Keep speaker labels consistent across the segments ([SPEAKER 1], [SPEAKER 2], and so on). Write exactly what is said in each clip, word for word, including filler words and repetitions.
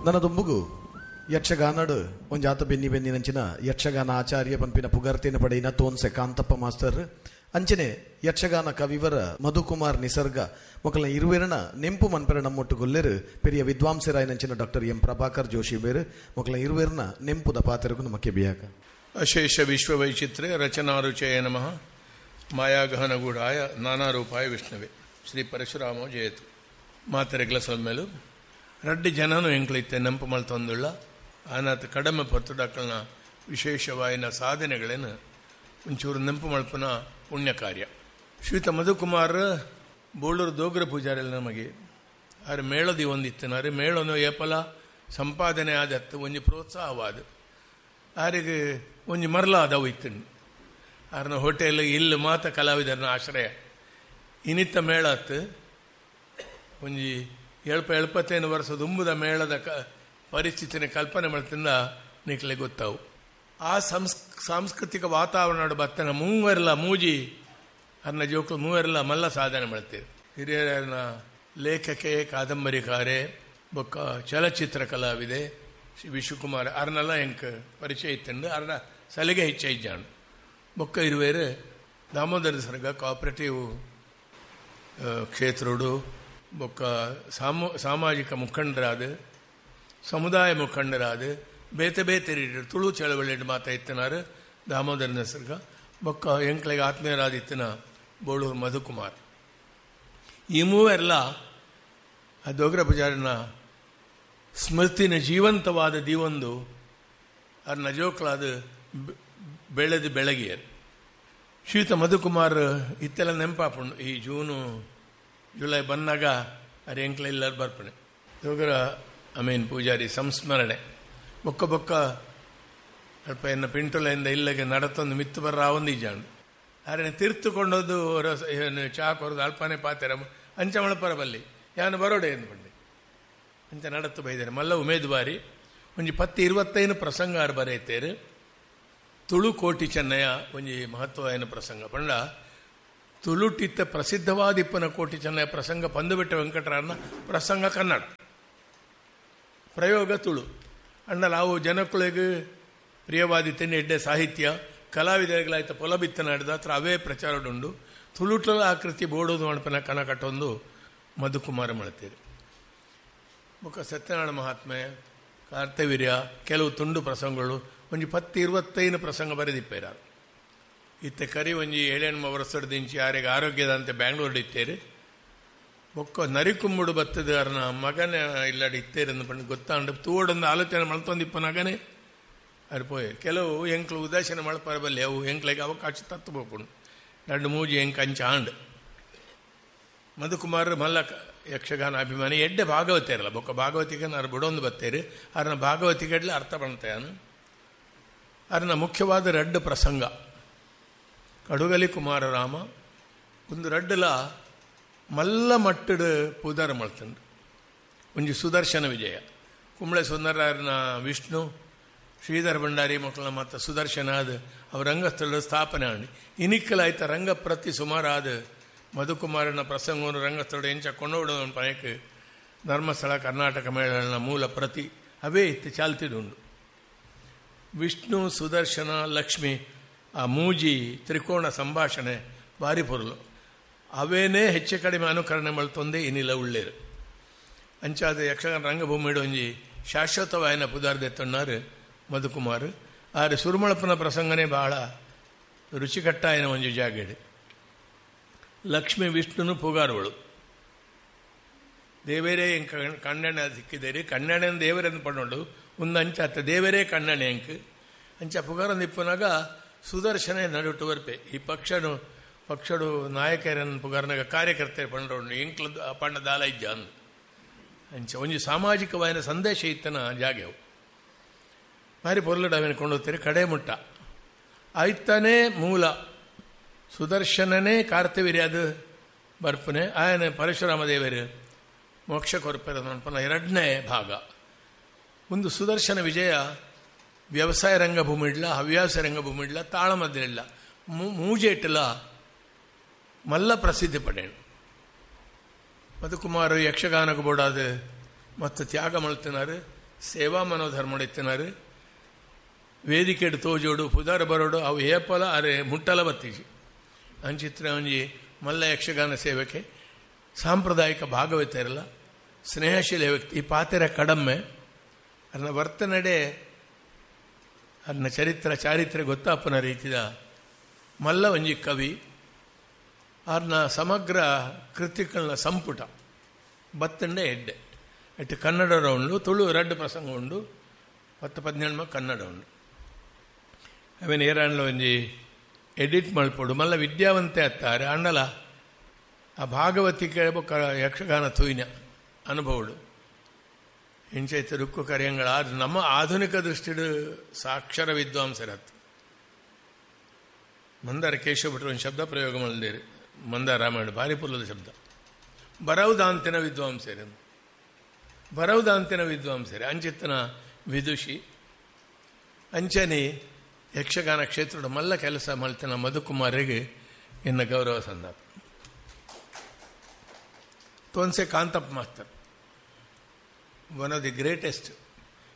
[SPEAKER 1] ನನದೊಂಬುಗು ಯಕ್ಷಗಾನಡು ಒಂಜಾತ ಬೆನ್ನಿ ಬೆನ್ನಿನಂಚಿನ ಯಕ್ಷಗಾನ ಆಚಾರ್ಯ ಪಂಪಿನ ಪುಗರ್ತಿನ ಪಡೆಯಿನ ತೋನ್ಸೆ ಕಾಂತಪ್ಪ ಮಾಸ್ತರ್ ಅಂಚನೆ ಯಕ್ಷಗಾನ ಕವಿವರ ಮಧುಕುಮಾರ್ ನಿಸರ್ಗ ಮೊಕಲ ಇರುವೆರನ ನೆಂಪು ಮನ್ಪೆರ ನಮ್ಮೊಟ್ಟು ಗೊಲ್ಲೆರು ಪೆರಿಯ ವಿದ್ವಾಂಸರಾಯನಂಚಿನ ಡಾಕ್ಟರ್ ಎಂ ಪ್ರಭಾಕರ್ ಜೋಶಿ ಬೇರು ಮೊಕಲ ಇರುವೆರನ ನೆಂಪುದ ಪಾತ್ರಗೂ ನಮಕ್ಕೆ ಬಿಯಾಕ.
[SPEAKER 2] ಅಶೇಷ ವಿಶ್ವವೈಚಿತ್ರ್ಯ ರಚನಾರುಚಯ ನಮಃ ಮಾಯಾಗಹನಗೂಢಾಯ ನಾನಾರೂಪಾಯ ವಿಷ್ಣುವೆ ಶ್ರೀ ಪರಶುರಾಮ ಜಯತು. ಮಾತೆರೆಗ್ಲ ಸೊಲ್ಮೇಲು ರಡ್ಡು ಜನನು ಎಂಕ್ಲೈತೆ ನೆಂಪು ಮಲ್ತೊಂದುಳ್ಳ ಆನಾತ ಕಡಮೆ ಪೊರ್ತುಡಕ್ಕಲ್ನ ವಿಶೇಷವಾಯಿನ ಸಾಧನೆಗಳೇನು ಒಂಚೂರು ನೆಂಪು ಮಲ್ಪುನ ಪುಣ್ಯ ಕಾರ್ಯ. ಶ್ರೀತ ಮಧುಕುಮಾರ್ ಬೋಳೂರು ದೋಗ್ರ ಪೂಜಾರಿಲ್ಲ ನಮಗೆ ಆರೆ ಮೇಳದಿ ಒಂದಿತ್ತನಾರೆ ಮೇಳನು ಏಪಲ ಸಂಪಾದನೆ ಆದತ್ತು ಒಂಜಿ ಪ್ರೋತ್ಸಾಹವಾದ ಆರಿಗೆ ಒಂಜಿ ಮರಲಾದವು ಇತ್ತು. ಆರನ ಹೋಟೆಲ್ ಇಲ್ಲಿ ಮಾತ ಕಲಾವಿದರನ್ನ ಆಶ್ರಯ ಇನ್ನಿತ್ತ ಮೇಳ ಅತ್ತು ಒಂಜಿ ಎಳ್ಪ ಎಳ್ಪತ್ತೈದು ವರ್ಷ ದುಂಬುದ ಮೇಳದ ಕ ಪರಿಸ್ಥಿತಿನ ಕಲ್ಪನೆ ಮಾಡ್ತಿಂದ ನಿಕ್ಲೆ ಗೊತ್ತಾವು. ಆ ಸಂಸ್ ಸಾಂಸ್ಕೃತಿಕ ವಾತಾವರಣ ಬತ್ತನ ಮೂವೆರ್ಲ ಮೂಜಿ ಅನ್ನ ಜೋಕ್ಲು ಮೂವೆರ್ಲ ಮಲ್ಲ ಸಾಧನೆ ಮಾಡ್ತೀರಿ. ಹಿರಿಯರನ್ನ ಲೇಖಕೆ ಕಾದಂಬರಿಕಾರೆ ಬೊಕ್ಕ ಚಲಚಿತ್ರ ಕಲಾವಿದೆ ಶ್ರೀ ವಿಶ್ವಕುಮಾರ್ ಅರ್ನೆಲ್ಲ ಎಂಕ್ ಪರಿಚಯ ಇತ್ತಂಡು ಅರ್ನ ಸಲಿಗೆ ಹೆಚ್ಚಾನು. ಬೊಕ್ಕ ಇರುವೇರು ದಾಮೋದರ ಸರ್ಗ ಕೋಆಪರೇಟಿವ್ ಕ್ಷೇತ್ರೋಡು ಬೊಕ್ಕ ಸಾಮು ಸಾಮಾಜಿಕ ಮುಖಂಡರಾದ ಸಮುದಾಯ ಮುಖಂಡರಾದ ಬೇತೆ ಬೇತೆ ರೀತಿ ತುಳು ಚಳವಳಿ ಮಾತಾ ಇತ್ತನಾರು ದಾಮೋದರ ನಿಸರ್ಗ ಬೊಕ್ಕ ಎಂಕ್ಲೆಗೆ ಆತ್ಮೀಯರಾದಿತ್ತನ ಬೋಳೂರು ಮಧುಕುಮಾರ್. ಈ ಮೂವೆಲ್ಲ ಆ ದೋಗ್ರ ಪೂಜಾರಿನ ಸ್ಮೃತಿನ ಜೀವಂತವಾದ ದೀವೊಂದು ಅರ್ನ ಜೋಕ್ಲಾದ ಬೆಳೆದು ಬೆಳಗಿಯರು. ಶ್ರೀತ ಮಧುಕುಮಾರ್ ಇತ್ತೆಲ್ಲ ನೆಂಪಾಪುಂಡು. ಈ ಜೂನು ಜುಲೈ ಬಂದಾಗ ಅರೆ ಎಂಕ್ಲ ಇಲ್ಲರು ಬರ್ಪಣೆ ದೋಗ್ರ ಅಮೀನ್ ಪೂಜಾರಿ ಸಂಸ್ಮರಣೆ ಬೊಕ್ಕ ಬೊಕ್ಕ ಅಲ್ಪ ಎನ್ನ ಪಿಂಟುಲೆಯಿಂದ ಇಲ್ಲಗೆ ನಡತೊಂದು ಮಿತ್ತು ಬರ್ರ ಒಂದು ಇಜ್ಜಾಂಡು ಆರೆ ತೀರ್ತುಕೊಂಡದ್ದು ರಸ ಏನು ಚಾ ಕೊರದು ಅಲ್ಪನೆ ಪಾತೆರ ಅಂಚ ಮಳಪರ ಬಲ್ಲಿ ಯಾನು ಬರೋಡೆ ಎಂದು ಬಂಡೆ ಅಂಚ ನಡತ್ತು ಬೈದಾರೆ. ಮಲ್ಲ ಉಮೇದುವಾರಿ ಒಂಜಿ ಪತ್ತು ಇರುವತ್ತೈನು ಪ್ರಸಂಗ ಆರು ಬರೆಯುತ್ತೇರು. ತುಳು ಕೋಟಿ ಚೆನ್ನಯ್ಯ ಒಂಜಿ ಮಹತ್ವವಾದ ಪ್ರಸಂಗ ಪಂಡ ತುಳುಟಿತ್ತ ಪ್ರಸಿದ್ಧವಾದ ಇಪ್ಪನ ಕೋಟಿ ಚೆನ್ನಯ್ಯ ಪ್ರಸಂಗ ಪಂದುಬೆಟ್ಟ ವೆಂಕಟರನ್ನ ಪ್ರಸಂಗ ಕನ್ನಡ ಪ್ರಯೋಗ ತುಳು ಅಣ್ಣ ನಾವು ಜನಕ್ಕಳಿಗೆ ಪ್ರಿಯವಾದಿತ್ತೇನೆ ಎಡ್ಡೆ ಸಾಹಿತ್ಯ ಕಲಾವಿದರಿಗಳಾಯ್ತ ಪೊಲಬಿತ್ತ ನಡೆದ ಹತ್ರ ಅವೇ ಪ್ರಚಾರಡುಂಡು ತುಳುಟಲ ಆಕೃತಿ ಬೋಡೋದು ಮಣಪನ ಕಣ ಕಟ್ಟೊಂದು ಮಧುಕುಮಾರ ಮಾಡ್ತೀರಿ. ಬೊಕ್ಕ ಸತ್ಯನಾರಾಯಣ ಮಹಾತ್ಮೆ ಕಾರ್ತವೀರ್ಯ ಕೆಲವು ತುಂಡು ಪ್ರಸಂಗಗಳು ಒಂಜಿ ಪತ್ತು ಇರುವತ್ತೈನು ಪ್ರಸಂಗ ಬರೆದಿಪ್ಪೇರ. ಇತ್ತೆ ಕರಿ ಒಂಜಿ ಏಳೆಣ್ಮ ವರ್ಷದಿಂಚಿ ಯಾರಿಗೆ ಆರೋಗ್ಯದಂತೆ ಬ್ಯಾಂಗ್ಳೂರು ಇತ್ತೇರಿ. ಬೊಕ್ಕ ನರಿಕುಂಬುಡು ಬತ್ತದ ಅರ್ನ ಮಗನ ಇಲ್ಲಾಡಿ ಇತ್ತೇರೆಂದು ಪಂಡು ಗೊತ್ತಾಂಡು ತೂಡೊಂದು ಆಲೋಚನೆ ಮಲ್ತೊಂದಿಪ್ಪನಾಗನೆ ಅರ್ ಪೋಯೆ. ಕೆಲವು ಎಂಕ್ಲು ಉದಾಸೀನ ಮಳಪರ ಬಲ್ಲಿ ಅವು ಎಂಕ್ಲೆಗೆ ಅವಕಾಶ ತತ್ತು ಪೋಪುಂಡು ಎರಡು ಮೂಜಿ ಎಂಕ್ ಅಂಚ ಆಂಡ್. ಮಧುಕುಮಾರ್ ಮಲ್ಲ ಯಕ್ಷಗಾನ ಅಭಿಮಾನಿ ಎಡ್ಡೆ ಭಾಗವತೇರಲ್ಲ ಬೊಕ್ಕ ಭಾಗವತಿಗೆ ನಾನು ಬುಡೊಂದು ಬತ್ತೇರಿ ಅರ್ನ ಭಾಗವತಿಗೆಡ್ಲೆ ಅರ್ಥ ಪಣ್ತಾನು. ಅರ್ನ ಮುಖ್ಯವಾದ ರಡ್ಡು ಪ್ರಸಂಗ ಕಡುಗಲಿ ಕುಮಾರರಾಮ ಒಂದು ರಡ್ಡುಲ ಮಲ್ಲ ಮಟ್ಟಡು ಪೂದಾರ ಮಲ್ತಂಡು. ಒಂಜಿ ಸುದರ್ಶನ ವಿಜಯ ಕುಂಬಳೆ ಸುಂದರನ ವಿಷ್ಣು ಶ್ರೀಧರ ಭಂಡಾರಿ ಮಕ್ಕಳ ಮತ್ತು ಸುದರ್ಶನ ಆದ ಅವ ರಂಗಸ್ಥಳದ ಸ್ಥಾಪನೆ ಆಂಡಿ ಇನಿಕ್ಕಲಾಯ್ತ ರಂಗ ಪ್ರತಿ ಸುಮಾರಾದ ಮಧುಕುಮಾರನ ಪ್ರಸಂಗವನ್ನು ರಂಗಸ್ಥಳ ಎಂಚ ಕೊಂಡೋಡ ಪಯಕ್ ಧರ್ಮಸ್ಥಳ ಕರ್ನಾಟಕ ಮೇಳನ ಮೂಲ ಪ್ರತಿ ಅವೇ ಇತ್ತು ಚಾಲ್ತಿದುಂಡು. ವಿಷ್ಣು ಸುದರ್ಶನ ಲಕ್ಷ್ಮಿ ಆ ಮೂಜಿ ತ್ರಿಕೋಣ ಸಂಭಾಷಣೆ ಭಾರಿ ಪೊರಲು ಅವೇನೇ ಹೆಚ್ಚು ಕಡಿಮೆ ಅನುಕರಣೆ ಮಲ್ತೊಂದೇ ಇನ್ನಿಲ್ಲ ಉಳ್ಳೇರು. ಅಂಚಾದ ಯಕ್ಷಗಾನ ರಂಗಭೂಮಿಡು ಒಂಜಿ ಶಾಶ್ವತವಾಯನ ಪುದಾರ್ದೆತ್ತಣ್ಣಾರು ಮಧುಕುಮಾರ್. ಆದರೆ ಸುರುಮಳಪ್ಪನ ಪ್ರಸಂಗನೇ ಭಾಳ ರುಚಿಕಟ್ಟಾಯನ ಒಂಜಿ ಜಾಗೆಡು. ಲಕ್ಷ್ಮೀ ವಿಷ್ಣುನು ಪುಗಾರುವಳು ದೇವರೇ ಎಂಕ ಕಣ್ಣೆಣ್ಣೆ ಸಿಕ್ಕಿದ್ದೇರಿ ಕಣ್ಣೆಣ್ಣೆ ದೇವರೆಂದು ಪಣ್ಣೋಡು ಒಂದು ಅಂಚಾತ ದೇವರೇ ಕಣ್ಣೆಣ್ಣೆ ಎಂಕ್ ಅಂಚ ಪುಗಾರ ನಿಪ್ಪನಾಗ ಸುದರ್ಶನ ನಡುಟು ಬರ್ಪೆ ಈ ಪಕ್ಷನು ಪಕ್ಷಡು ನಾಯಕರನ್ನು ಪುಗಾರನಾಗ ಕಾರ್ಯಕರ್ತರು ಪಂಡ್ರೋಡು ಎಂಕ್ಲ ಪಣ್ಣ ದಾಲ ಇಜ್ಜ ಅಂದು ಅಂಚ ಒಂಜಿ ಸಾಮಾಜಿಕವಾದ ಸಂದೇಶ ಇತ್ತನ ಜಾಗೆವು ಮಾರಿ ಪೊರ್ಲುಡು ಅವೇನು ಕೊಂಡೋಗ್ತೀರಿ ಕಡೆ ಮುಟ್ಟ ಆಯ್ತಾನೇ ಮೂಲ ಸುದರ್ಶನನೇ ಕಾರ್ತವೀರ್ಯ ಅದು ಬರ್ಪನೆ ಆಯನ ಪರಶುರಾಮ ದೇವರು ಮೋಕ್ಷ ಕೊರಪೆರ ಮನ್ಪನ ಎರಡನೇ ಭಾಗ. ಒಂದು ಸುದರ್ಶನ ವಿಜಯ ವ್ಯವಸಾಯ ರಂಗಭೂಮಿ ಇಡ್ಲ ಹವ್ಯಾಸ ರಂಗಭೂಮಿ ಇಡ್ಲ ತಾಳಮದ್ದಿಲ್ಲ ಮೂಜೆಟ್ಟಲ ಮಲ್ಲ ಪ್ರಸಿದ್ಧಿ ಪಡೆಯಣ. ಮಧುಕುಮಾರ್ ಯಕ್ಷಗಾನಕ್ಕೆ ಬೋಡಾದ ಮತ್ತು ತ್ಯಾಗ ಮಲ್ತಿನಾರು ಸೇವಾ ಮನೋಧರ್ಮಡಿತ್ತಿನಾರು ವೇದಿಕೆಡು ತೋಜೋಡು ಪುದಾರ ಬರೋಡು ಅವು ಏಪಲ ಅರೆ ಮುಟ್ಟಲ ಬತ್ತೀಜಿ ಅಂಚಿತ್ರ ಒಂಜಿ ಮಲ್ಲ ಯಕ್ಷಗಾನ ಸೇವಕೆ ಸಾಂಪ್ರದಾಯಿಕ ಭಾಗವತರಲ್ಲ ಸ್ನೇಹಶೀಲ ವ್ಯಕ್ತಿ. ಈ ಪಾತೆರ ಕಡಮ್ಮೆ ಅದನ್ನ ವರ್ತನೆಡೆ ಅದನ್ನ ಚರಿತ್ರ ಚಾರಿತ್ರ್ಯ ಗೊತ್ತಾಪನ ರೀತಿಯ ಮಲ್ಲ ಒಂಜಿ ಕವಿ. ಅದನ್ನ ಸಮಗ್ರ ಕೃತಿಗಳನ್ನ ಸಂಪುಟ ಬತ್ತಂಡೆ ಎಡ್ಡೆ ಎಟ್ಟು ಕನ್ನಡ ಉಂಡು, ತುಳು ರಡ್ಡು ಪ್ರಸಂಗ ಉಂಡು, ಪತ್ತು ಪದಿನೆಂಟು ಕನ್ನಡ ಉಂಡು. ಅವೇನು ಏರಾಂಡ್ಲ ಒಂಜಿ ಎಡಿಟ್ ಮಲ್ಪೊಡು ಮಲ್ಲ ವಿದ್ಯಾವಂತೆ ಅತ್ತಾರೆ ಅಣ್ಣಲ ಆ ಭಾಗವತಿಕೆ ಬೊಕ್ಕ ಯಕ್ಷಗಾನ ತೂಯಿನ ಅನುಭವಡು ಇಂಚೈತ ರುಕ್ಕು ಕರೆಯಂಗಳ ನಮ್ಮ ಆಧುನಿಕ ದೃಷ್ಟಿಡು ಸಾಕ್ಷರ ವಿದ್ವಾಂಸರತ್ತು. ಮಂದಾರ ಕೇಶವ ಭಟ್ರು ಒಂದು ಶಬ್ದ ಪ್ರಯೋಗ ಮಾಡಿದೇರಿ, ಮಂದಾರ ರಾಮಾಯಣ ಭಾರಿ ಪುಲ್ಲದ ಶಬ್ದ, ಬರವುದಾಂತಿನ ವಿದ್ವಾಂಸರು ಬರವುದಾಂತಿನ ವಿದ್ವಾಂಸರೇ ಅಂಚಿತ್ತನ ವಿದುಷಿ ಅಂಚನೆ ಯಕ್ಷಗಾನ ಕ್ಷೇತ್ರದ ಮಲ್ಲ ಕೆಲಸ ಮಲ್ತಿನ ಮಧುಕುಮಾರಿಗೆ ಎನ್ನ ಗೌರವ ಸಂದಾಪ. Thonse Kantappa master one of the greatest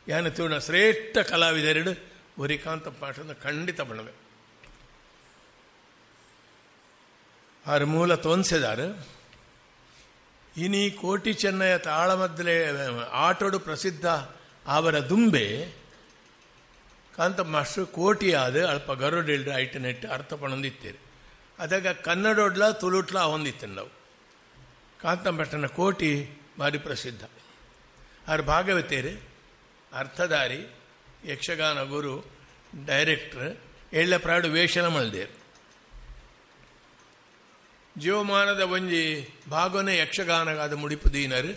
[SPEAKER 2] ಯಾನು ತೂಣ ಶ್ರೇಷ್ಠ ಕಲಾವಿದರೆಡು ಒರಿ ಕಾಂತಪ್ಪ ಮಾಸ್ಟರ್ ಖಂಡಿತ ಬಣವೆ. ಆರು ಮೂಲ ತೋನ್ಸೆದಾರು ಇನಿ ಕೋಟಿ ಚೆನ್ನಯ ತಾಳಮದ್ದಲೆ ಆಟೋಡು ಪ್ರಸಿದ್ಧ ಅವರ ದುಂಬೆ ಕಾಂತಪ್ಪ ಮಾಸ್ಟರ್ ಕೋಟಿಯಾದ ಅಲ್ಪ ಗರುಡಿಲ್ಡು ಐಟ್ ನೆಟ್ಟು ಅರ್ಥ ಪಣೊಂದಿತ್ತೀರಿ. ಅದಾಗ ಕನ್ನಡೊಡ್ಲ ತುಳುಟ್ಲ ಹೊಂದಿತ್ತು ನಾವು. ಕಾಂತಪ್ಪ ಮಾಸ್ಟರ್ನ ಕೋಟಿ ಭಾರಿ ಪ್ರಸಿದ್ಧ. ಆರು ಭಾಗವತೇರು, ಅರ್ಥಧಾರಿ, ಯಕ್ಷಗಾನ ಗುರು, ಡೈರೆಕ್ಟ್ರ್, ಎಳ್ಳ ಪ್ರಾಡು ವೇಷನ ಮಲ್ದೇರು. ಜೀವಮಾನದ ಒಂಜಿ ಭಾಗನೇ ಯಕ್ಷಗಾನಗಾದ ಮುಡಿಪು ದೀನರು.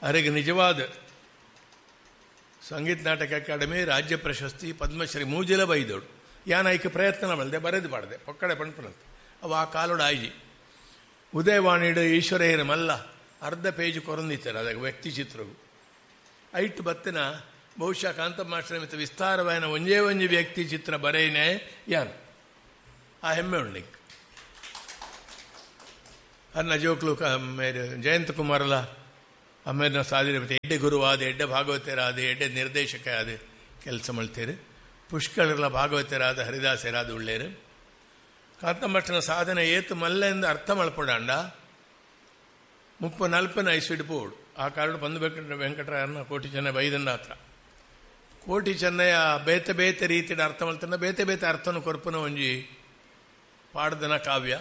[SPEAKER 2] ಅರೆಗೆ ನಿಜವಾದ ಸಂಗೀತ ನಾಟಕ ಅಕಾಡೆಮಿ ರಾಜ್ಯ ಪ್ರಶಸ್ತಿ ಪದ್ಮಶ್ರೀ ಮೂಜಿಲ ಬೈದೋಡು. ಯಾನ್ ಐಕೆ ಪ್ರಯತ್ನ ಮಲ್ದೆ ಬರೆದು ಬಾಡದೆ ಪೊಕ್ಕಡೆ ಪಣ್ಪುನಂತೆ ಅವು ಆ ಕಾಲೋಡು ಆಯ್ಜಿ. ಉದಯವಾಣಿಡು ಈಶ್ವರಯ್ಯನ ಮಲ್ಲ ಅರ್ಧ ಪೇಜ್ ಕೊರಂದಿತ್ತಾರೆ ಅದಾಗ ವ್ಯಕ್ತಿ ಚಿತ್ರವು ಐಟ್ ಬತ್ತಿನ ಬಹುಶಃ ಕಾಂತಪ್ಪ ಮಾಸ್ಟರ್ ಮಿತ್ತ ವಿಸ್ತಾರವಾದ ಒಂಜೇ ಒಂಜಿ ವ್ಯಕ್ತಿ ಚಿತ್ರ ಬರೆಯನೇ ಯಾನ್ ಆ ಹೆಮ್ಮೆ ಉಂಡು. ಅನ್ನ ಜೋಕ್ಲು ಮೇರೆ ಜಯಂತ ಕುಮಾರಲ ಅಮ್ಮೇರಿನ ಸಾಧನೆ ಎಡ್ಡೆ ಗುರುವಾದ ಎಡ್ಡೆ ಭಾಗವತರಾದ ಎಡ್ಡೆ ನಿರ್ದೇಶಕ ಆದ ಕೆಲಸ ಮಾಡ್ತೀರಿ. ಪುಷ್ಕಳರ್ಲ ಭಾಗವತರಾದ ಹರಿದಾಸರಾದ ಉಳ್ಳೇರು. ಕಾಂತಮ್ಮಟ್ಟನ ಸಾಧನೆ ಏತು ಮಲ್ಲೆಂದು ಅರ್ಥ ಮಲ್ಪಡಾಂಡ ಮುಪ್ಪ ನಲ್ಪನ ಐಸಿಡ್ ಪೋಡು ಆ ಕಾರಣ ಬಂದು ವೆಂಕಟ ವೆಂಕಟರಾಯನ ಕೋಟಿ ಚೆನ್ನೈ ಬೈದಂಡ ಹತ್ರ ಕೋಟಿ ಚೆನ್ನಯ್ಯ ಬೇತೆ ಬೇತೆ ರೀತಿಯ ಅರ್ಥ ಮಲ್ತನ ಬೇತೆ ಬೇತೆ ಅರ್ಥನ ಕೊರ್ಪುನ ಒಂಜಿ ಪಾಡ್ದನ ಕಾವ್ಯ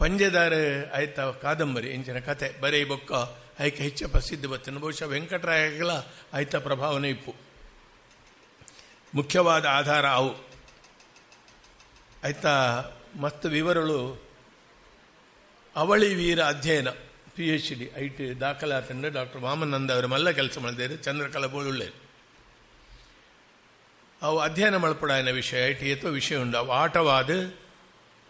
[SPEAKER 2] ಪಂಜೆದಾರ ಆಯ್ತ ಕಾದಂಬರಿ ಇಂಚಿನ ಕತೆ ಬರೀ ಬೊಕ್ಕ ಐಕೆ ಹೆಚ್ಚ ಪ್ರಸಿದ್ಧ ಬತ್ತಿನ ಬಹುಶಃ ವೆಂಕಟರಾಯಗಳ ಆಯ್ತ ಪ್ರಭಾವನೆ ಇಪ್ಪು ಮುಖ್ಯವಾದ ಆಧಾರ ಅವು ಆಯ್ತಾ. ಮಸ್ತ್ ವಿವರಳು ಅವಳಿ ವೀರ ಅಧ್ಯಯನ P H D I T ದಾಖಲಾತಂಡ doctor Vamananda ಅವರು ಮಲ್ಲ ಕೆಲಸ ಮಾಡಿದ್ದಾರೆ. ಚಂದ್ರಕಲಾ ಬೋಳುಳ್ಳೇರು ಅವು ಅಧ್ಯಯನ ಮಲ್ಪಡಾಯನ ವಿಷಯ I T ಅಥವಾ ವಿಷಯ ಉಂಡು. ಅವು ಆಟವಾದ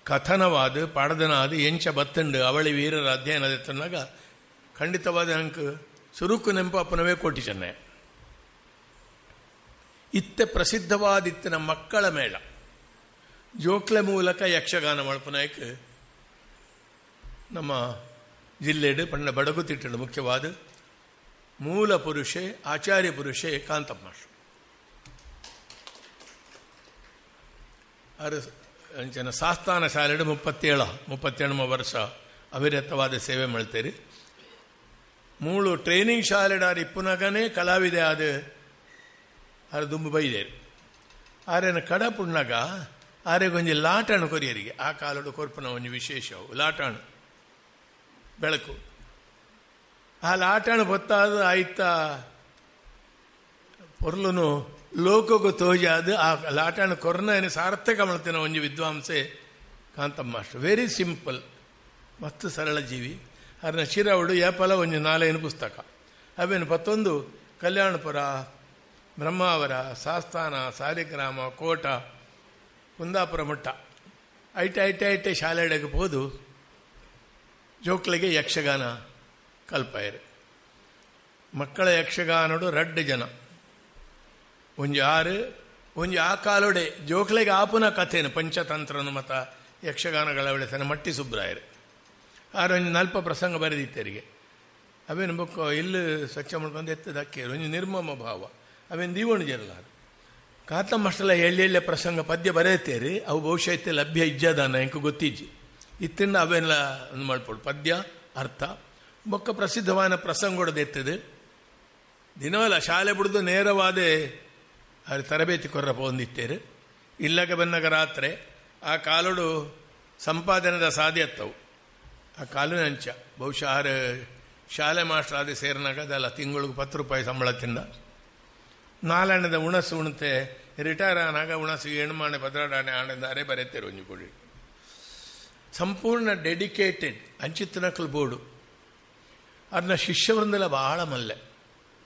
[SPEAKER 2] ಕಥನವಾದ ಪಾಡದನಾದ ಎಂಚ ಬತ್ತಂಡು ಅವಳಿ ವೀರರ ಅಧ್ಯಯನ ಎತ್ತನಾಗ ಖಂಡಿತವಾದ ಅಂಕ ಸುರುಕು ನೆಂಪಾಪನವೇ ಕೋಟಿ ಚೆನ್ನೈ ಇತ್ತೆ ಪ್ರಸಿದ್ಧವಾದಿತ್ತಿನ ಮಕ್ಕಳ ಮೇಳ ಜೋಕ್ಲೆ ಮೂಲಕ ಯಕ್ಷಗಾನ ಮಲ್ಪನಾಯಕ್ ನಮ್ಮ ಜಿಲ್ಲೆಡು ಪಣ್ಣ ಬಡಗುತಿಟ್ಟಡು ಮುಖ್ಯವಾದ ಮೂಲ ಪುರುಷೆ ಆಚಾರ್ಯ ಪುರುಷೆ ಕಾಂತಪ್ಪ ಮಾಸ್ಟರ್ ಅರು ಅಂಚನ ಸಾಸ್ತಾನ ಶಾಲೆಡು ಮುಪ್ಪತ್ತೇಳ ಮುಪ್ಪತ್ತೇಳಮ ವರ್ಷ ಅವಿರತವಾದ ಸೇವೆ ಮಾಡ್ತೇರಿ. ಮೂಳು ಟ್ರೈನಿಂಗ್ ಶಾಲೆಡಾರು ಇಪ್ಪುನಗನೇ ಕಲಾವಿದೆ ಆದ ಆರು ದುಂಬು ಬೈದೇರು. ಆರೇನ ಕಡ ಪುಣ್ಣಗ ಆರೆಗೊಂಜಿ ಲಾಟಾಣು ಕೊರಿಯರಿಗೆ ಆ ಕಾಲಡು ಕೊರ್ಪುನ ಒಂಜಿ ವಿಶೇಷವು ಲಾಟಾಣು ಬೆಳಕು. ಆ ಲಾಟಾಣು ಹೊತ್ತಾದ ಆಯ್ತ ಪೊರ್ಲುನು ಲೋಕಕ್ಕೂ ತೋಜಾದ ಆ ಲಾಟಾಣು ಕೊರ್ನ ಸಾರ್ಥಕ ಮಾಡ್ತೇನೆ ಒಂಜಿ ವಿದ್ವಾಂಸೆ ಕಾಂತಮ್ಮ ಮಾಸ್ಟರ್. ವೆರಿ ಸಿಂಪಲ್ ಮತ್ತು ಸರಳ ಜೀವಿ. ಅದನ್ನ ಶಿರವಡು ಏಪಲ ಒಂಜಿ ನಾಲೇನು ಪುಸ್ತಕ ಅವೇನು ಪತ್ತೊಂದು ಕಲ್ಯಾಣಪುರ, ಬ್ರಹ್ಮಾವರ, ಸಾಸ್ತಾನ, ಸಾಲಿಗ್ರಾಮ, ಕೋಟ, ಕುಂದಾಪುರ ಮಟ್ಟ ಐಟೆ ಐಟೆ ಐಟೆ ಶಾಲೆಡೆಗೆ ಹೋದು ಜೋಕ್ಲಿಗೆ ಯಕ್ಷಗಾನ ಕಲ್ಪಾಯರು. ಮಕ್ಕಳ ಯಕ್ಷಗಾನಡು ರಡ್ಡು ಜನ ಒಂಜಿ ಆರು ಒಂಜಿ ಆ ಕಾಲೊಡೆ ಜೋಕ್ಲೆಗೆ ಆಪುನ ಕಥೆನು ಪಂಚತಂತ್ರನು ಮತ ಯಕ್ಷಗಾನಗಳ ಬೆಳೆಸನ ಮಟ್ಟಿ ಸುಬ್ರಾಯರು. ಆರು ಒಂಜಿ ನಲ್ಪ ಪ್ರಸಂಗ ಬರೆದಿತ್ತರಿಗೆ ಅವೇನು ಬೊಕ್ಕ ಇಲ್ಲಿ ಸ್ವಚ್ಛ ಮಾಡ್ಕೊಂಡು ಎತ್ತದ ಅಕ್ಕೇರು ಒಂಜಿ ನಿರ್ಮಮ ಭಾವ ಅವೇನು ದೀವಣು ಜರಲಾರು ಕಾತಮ್ಮಷ್ಟೆಲ್ಲ ಎಳ್ಳೆ ಎಳ್ಳೆ ಪ್ರಸಂಗ ಪದ್ಯ ಬರೆಯುತ್ತೇರಿ ಅವು ಬಹುಶಃ ಇತ್ತೆ ಲಭ್ಯ ಇಜ್ಜಾದಾನ ಎಂಕು ಗೊತ್ತಿಜ್ಜಿ ಇತ್ತಿಂದ ಅವೆಲ್ಲ ಒಂದು ಮಾಡ್ಪೋಡು ಪದ್ಯ ಅರ್ಥ ಬೊಕ್ಕ ಪ್ರಸಿದ್ಧವಾದ ಪ್ರಸಂಗೊಡದು ಎತ್ತದೆ ದಿನವಲ್ಲ ಶಾಲೆ ಬಿಡ್ದು ನೇರವಾದ ಅಲ್ಲಿ ತರಬೇತಿ ಕೊರ್ರಪ್ಪ ಹೊಂದಿತ್ತೇರು ಇಲ್ಲಗ ಬನ್ನಗ ರಾತ್ರಿ ಆ ಕಾಲೋಡು ಸಂಪಾದನೆದ ಸಾಧ್ಯತ್ತವು ಆ ಕಾಲಿನ ಅಂಚ ಬಹುಶಃ ಆರು ಶಾಲೆ ಮಾಸ್ಟರ್ ಆದ ಸೇರಿನಾಗ ಅದಲ್ಲ ತಿಂಗಳಿಗೆ ಪತ್ತು ರೂಪಾಯಿ ಸಂಬಳ ತಿಂದ ನಾಲ್ಣದ ಉಣಸು ಉಣತೆ ರಿಟೈರ್ ಆನಾಗ ಉಣಸು ಎಣ್ಮಾಣೆ ಪದ್ರಾಡಾಣೆ ಆಣೆದಾರೆ ಬರೆತೇರು ಒಂಜಿ ಕೊಡಿ ಸಂಪೂರ್ಣ ಡೆಡಿಕೇಟೆಡ್ ಅಂಚಿತ್ತನಕಲ್ ಬೋರ್ಡು ಅದನ್ನ ಶಿಷ್ಯವೃಂದಲ ಭಾಳ ಮಲ್ಲೆ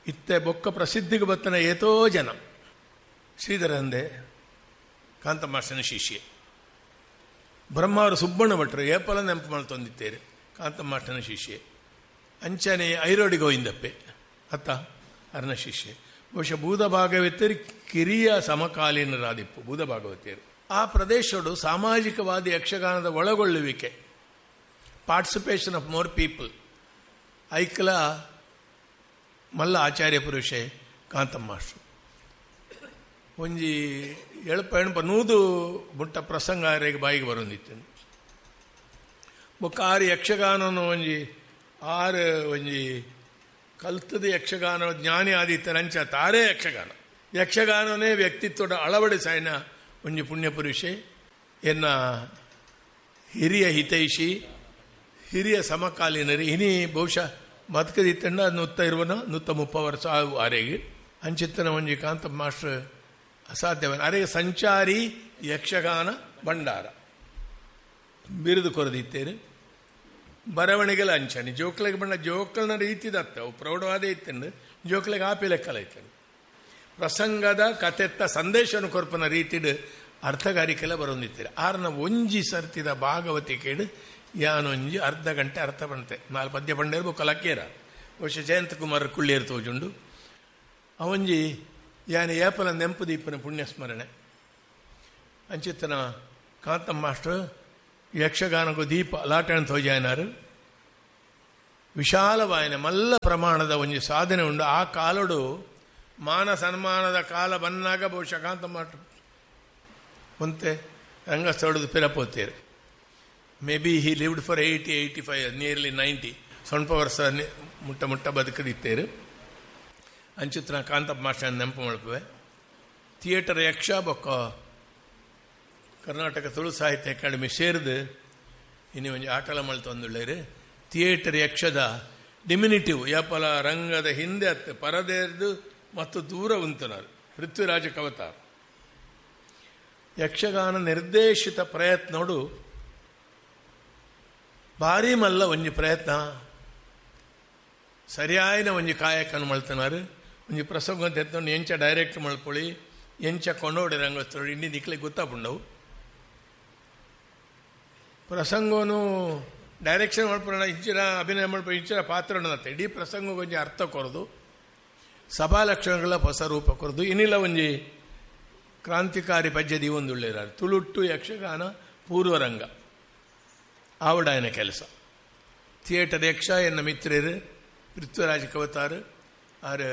[SPEAKER 2] ಇತ್ತೆ ಬೊಕ್ಕ ಪ್ರಸಿದ್ಧಿಗೆ ಬತ್ತನ ಏತೋ ಜನ ಶ್ರೀಧರಂದೆ ಕಾಂತಮಾಸ್ಟರ್ನ ಶಿಷ್ಯ ಬ್ರಹ್ಮಾವರು ಸುಬ್ಬಣ್ಣ ಭಟ್ರು ಏಪಲ ನೆನಪು ಮಾಡ್ತೊಂದಿತ್ತೇರು ಕಾಂತಮಾಸ್ಟರ್ನ ಶಿಷ್ಯೆ ಅಂಚನೆ ಐರೋಡಿ ಗೋವಿಂದಪ್ಪೆ ಅತ್ತ ಅರ್ನ ಶಿಷ್ಯೆ ಬಹುಶಃ ಬೂದ ಭಾಗವತರು ಕಿರಿಯ ಸಮಕಾಲೀನರಾದಿಪ್ಪು ಬೂದ ಭಾಗವತಿಯರು. ಆ ಪ್ರದೇಶಡು ಸಾಮಾಜಿಕವಾದ ಯಕ್ಷಗಾನದ ಒಳಗೊಳ್ಳುವಿಕೆ, ಪಾರ್ಟಿಸಿಪೇಷನ್ ಆಫ್ ಮೋರ್ ಪೀಪಲ್, ಐಕ್ಲ ಮಲ್ಲ ಆಚಾರ್ಯ ಪುರುಷೆ ಕಾಂತಮ್ಮಾಸ್ಟ್ರು. ಒಂಜಿ ಎಳಪ ಎಣಪ ನೂದು ಮುಟ್ಟ ಪ್ರಸಂಗ ಆರಿಗೆ ಬಾಯಿಗೆ ಬರೊಂದಿತ್ತು. ಬೊಕ್ಕ ಆರು ಯಕ್ಷಗಾನನು ಒಂಜಿ ಆರು ಒಂಜಿ ಕಲ್ತದ ಯಕ್ಷಗಾನ ಜ್ಞಾನಿ ಆದಿತ್ಯರಂಚ ತಾರೇ ಯಕ್ಷಗಾನ ಯಕ್ಷಗಾನನೇ ವ್ಯಕ್ತಿತ್ವದ ಅಳವಡಿಸಾಯನ ಒಂಜಿ ಪುಣ್ಯಪುರುಷೆ ಎನ್ನ ಹಿರಿಯ ಹಿತೈಷಿ ಹಿರಿಯ ಸಮಕಾಲೀನರಿ ಇನಿ ಬಹುಶಃ ಬದುಕದಿತ್ತಣ್ಣ ನೂತ್ತ ಇರುವನ ನೂತ್ತ ಮುಪ್ಪ ವರ್ಷ ಆರೆಗೆ ಅಂಚಿತ್ತನ ಒಂಜಿ ಕಾಂತ ಮಾಸ್ಟರ್ ಅಸಾಧ್ಯವ ಅರೆಗೆ ಸಂಚಾರಿ ಯಕ್ಷಗಾನ ಭಂಡಾರ ಬಿರುದು ಕೊರದಿತ್ತೇನೆ. ಬರವಣಿಗೆಲ್ಲ ಅಂಚನೆ ಜೋಕ್ಲೆಗೆ ಬಣ್ಣ ಜೋಕಲ್ನ ರೀತಿದತ್ತ ಅವು ಪ್ರೌಢವಾದ ಇತ್ತಂಡು ಜೋಕ್ಲೆಗೆ ಆಪಿ ಲೆಕ್ಕಲ ಇತ್ತಂಡು ಪ್ರಸಂಗದ ಕತೆತ್ತ ಸಂದೇಶವನ್ನು ಕೊರ್ಪನ ರೀತಿಡು ಅರ್ಥಗಾರಿಕೆಲ್ಲ ಬರೊಂದಿತ್ತೀರಿ. ಆರ್ನ ಒಂಜಿ ಸರ್ತಿದ ಭಾಗವತಿಕೇಡು ಯಾನೊಂಜಿ ಅರ್ಧ ಗಂಟೆ ಅರ್ಥ ಬಂತೆ ನಾಲ್ ಪದ್ಯ ಪಂಡೇರು ಕಲಕೇರ ಬಹುಶಃ ಜಯಂತ ಕುಮಾರ್ ಕುಳ್ಳಿಯರ್ ತೋಜುಂಡು ಅವಂಜಿ ಯಾನೆ ಏಪಲ ನೆಂಪು ದೀಪನ ಪುಣ್ಯಸ್ಮರಣೆ ಅಂಚಿತ್ತನ ಕಾಂತಮ್ಮ ಮಾಸ್ಟರ್ ಯಕ್ಷಗಾನಕ್ಕೂ ದೀಪ ಲಾಟಣ ತೋಜಾಯನಾರು ವಿಶಾಲವಾಯನ ಮಲ್ಲ ಪ್ರಮಾಣದ ಒಂಜಿ ಸಾಧನೆ ಉಂಡು. ಆ ಕಾಲಡು ಮಾನ ಸನ್ಮಾನದ ಕಾಲ ಬನ್ನಾಗ ಬಹುಶಃ ಕಾಂತಮ್ಮ ಒಂತೆ ರಂಗಸ್ಥಳದ ಪಿರಪೋತೇರು. Maybe he lived for eighty eighty five nearly ninety ಸ್ವಲ್ಪ ವರ್ಷ ಮುಟ್ಟ ಮುಟ್ಟ ಬದುಕದಿತ್ತೇರು. ಅಂಚಿತ್ರ ಕಾಂತಪ್ಪ ಮಾಸ್ಟರ್ ನೆನಪು ಮಾಡ್ಪುವೆ. ಥಿಯೇಟರ್ ಯಕ್ಷ ಬೊಕ್ಕ ಕರ್ನಾಟಕ ತುಳು ಸಾಹಿತ್ಯ ಅಕಾಡೆಮಿ ಸೇರಿದು ಇನ್ನು ಒಂಜಿ ಆಟಲ ಮಲ್ತೊಂದುಳ್ಳೇರು. ಥಿಯೇಟರ್ ಯಕ್ಷದ ಡಿಮಿನಿಟಿವ್ ಯಾಪಲ ರಂಗದ ಹಿಂದೆ ಅತ್ತು ಪರದೇರ್ದು ಮತ್ತು ದೂರ ಉಂತನಾರು ಪೃಥ್ವಿರಾಜ ಕವತಾರ ಯಕ್ಷಗಾನ ನಿರ್ದೇಶಿತ ಪ್ರಯತ್ನೋಡು ಭಾರಿ ಮಲ್ಲ ಒಂಜಿ ಪ್ರಯತ್ನ ಸರಿಯಾಯಿನ ಒಂಜಿ ಕಾಯಕನ್ನು ಮಲ್ತನಾರು. ಒಂಜಿ ಪ್ರಸಂಗ ಅಂತ ಎತ್ತೊಂಡು ಎಂಚ ಡೈರೆಕ್ಟ್ ಮಲ್ಪೊಳಿ ಎಂಚ ಕೊಂಡೋಡಿ ರಂಗಸ್ಥಳು ಇಂಡಿ ದಿಕ್ಲಿಗೆ ಗೊತ್ತಾಪುಂಡವು ಪ್ರಸಂಗನು ಡೈರೆಕ್ಷನ್ ಮಲ್ಪೊಣ ಇಂಚಿನ ಅಭಿನಯ ಮಲ್ಪ ಇಂಚಿನ ಪಾತ್ರ ಇಡೀ ಪ್ರಸಂಗ ಒಂಜಿ ಅರ್ಥ ಕೊರದು ಸಭಾ ಲಕ್ಷಣಗಳ ಹೊಸ ರೂಪ ಕೊರದು ಇನ್ನಿಲ್ಲ ಒಂಜಿ ಕ್ರಾಂತಿಕಾರಿ ಪದ್ಯ ದೀವೊಂದುಳ್ಳೇರಾರು ತುಳುಟ್ಟು ಯಕ್ಷಗಾನ ಪೂರ್ವರಂಗ ಆವಡಾಯನ ಕೆಲಸ ಥಿಯೇಟರ್ ಯಕ್ಷ ಎನ್ನ ಮಿತ್ರರು ಪೃಥ್ವಿರಾಜ ಕವತಾರು ಆರು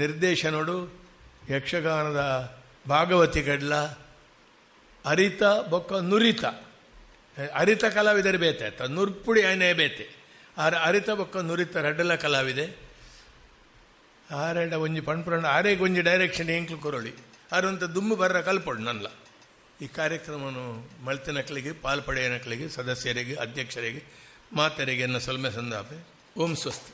[SPEAKER 2] ನಿರ್ದೇಶನೋಡು ಯಕ್ಷಗಾನದ ಭಾಗವತಿ ಗಡ್ಲ ಅರಿತ ಬೊಕ್ಕ ನುರಿತ ಅರಿತ ಕಲಾವಿದರು ಬೇತೆ ಆಯ್ತ ನುರ್ಪುಡಿ ಆಯ್ನೇ ಬೇತೆ ಆರು ಅರಿತ ಬೊಕ್ಕ ನುರಿತ ರಡ್ಡಲ ಕಲಾವಿದೆ ಆರೆಡ ಒಂಜಿ ಪಣ್ಪುರಂಡ ಆರೇಗೆ ಒಂಜಿ ಡೈರೆಕ್ಷನ್ ಎಂಕ್ಲು ಕೊರೊಳಿ ಆರಂತ ದುಮ್ಮು ಬರ್ರ ಕಲ್ಪೊಡು ನನ್ಲ. ಈ ಕಾರ್ಯಕ್ರಮವನ್ನು ಮಳ್ತಿನಕ್ಳಿಗೆ ಪಾಲ್ಪಡೆಯನಕ್ಳಿಗೆ ಸದಸ್ಯರಿಗೆ ಅಧ್ಯಕ್ಷರಿಗೆ ಮಾತರಿಗೆ ಎನ್ನ ಸೊಲ್ಮೆ ಸಂದಾಪೆ. ಓಂ ಸ್ವಸ್ತಿ.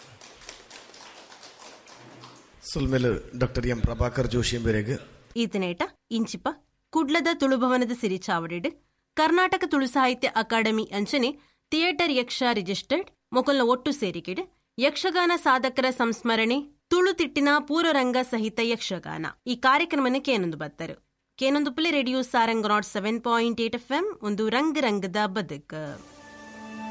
[SPEAKER 1] ಸೊಲ್ಮೆಲು ಡಾಕ್ಟರ್ ಎಂ ಪ್ರಭಾಕರ್ ಜೋಶಿ ಬೇರೆಗೆ.
[SPEAKER 3] ಈತನೇಟ ಇಂಚಿಪ ಕುಡ್ಲದ ತುಳುಭವನದ ಸಿರಿ ಚಾವಡಿಡ್ ಕರ್ನಾಟಕ ತುಳು ಸಾಹಿತ್ಯ ಅಕಾಡೆಮಿ ಅಂಚನೆ ಥಿಯೇಟರ್ ಯಕ್ಷ ರಿಜಿಸ್ಟರ್ಡ್ ಮೊಕಲ್ನ ಒಟ್ಟು ಸೇರಿಕೆಡ್ ಯಕ್ಷಗಾನ ಸಾಧಕರ ಸಂಸ್ಮರಣೆ ತುಳು ತಿಟ್ಟಿನ ಪೂರ್ವರಂಗ ಸಹಿತ ಯಕ್ಷಗಾನ ಈ ಕಾರ್ಯಕ್ರಮನ ಕೇನೊಂದು ಬತ್ತರು ಕೇನೊಂದು ಪುಲಿ radio Sarang nought seven point eight F M ಒಂದು ರಂಗ ರಂಗದ ಬದುಕು.